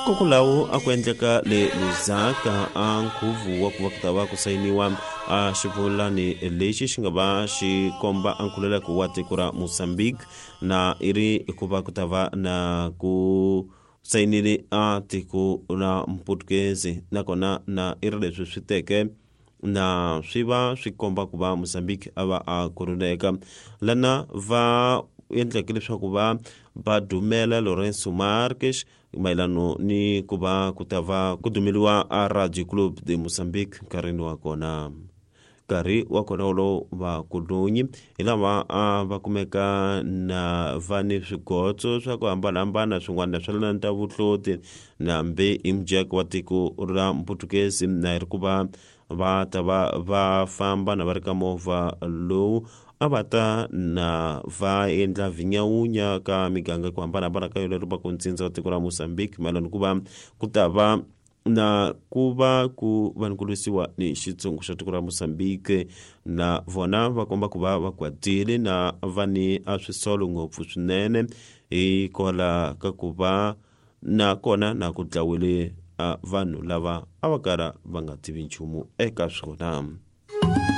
Kokolawo a ku endleka le Lusaka a nkhuvu wa ku va ku ta va ku sayiniwa a xivulani lexi xi nga va xi komba a nkhululeko wa tiko ra Mozambique na i ri ku va ku ta va na ku sayinile a tiko ra Mputukezi nakona na i ri leswi swi teke na swi va swi komba ku va Mozambique a va a khululeka lana va endleke leswaku va va dumela Lourenço Marques mayelano ni ku va ku ta va ku dumeliwa a Radio Club de Mozambique nkarhini wa kona. Nkarhi wa kona wolowo vakulunyi hi lava a va kumeka na va ni swigotso swa ku hambanahambana swin'wana swa lana ta vuhloti nambe i mujeko wa tiko ra Mputukezi na ri ku va va ta va va famba na va ri ka movha lowu a va ta na va endla vinyawunya ka miganga ku hambanahambana ka yona ri va ku ntsindza wa tiko ra Mozambique mayelana ku va ku ta va na ku va ku va ni ku lwisiwa ni xitshungu xa tiko ra Mozambique na vona va komba ku va va kwatile na va ni a swisolo ngopfu swinene hikwalaho ka ku va na kona na ku dlawile a vanhu lava a va kala va nga tivi nchumu eka swona.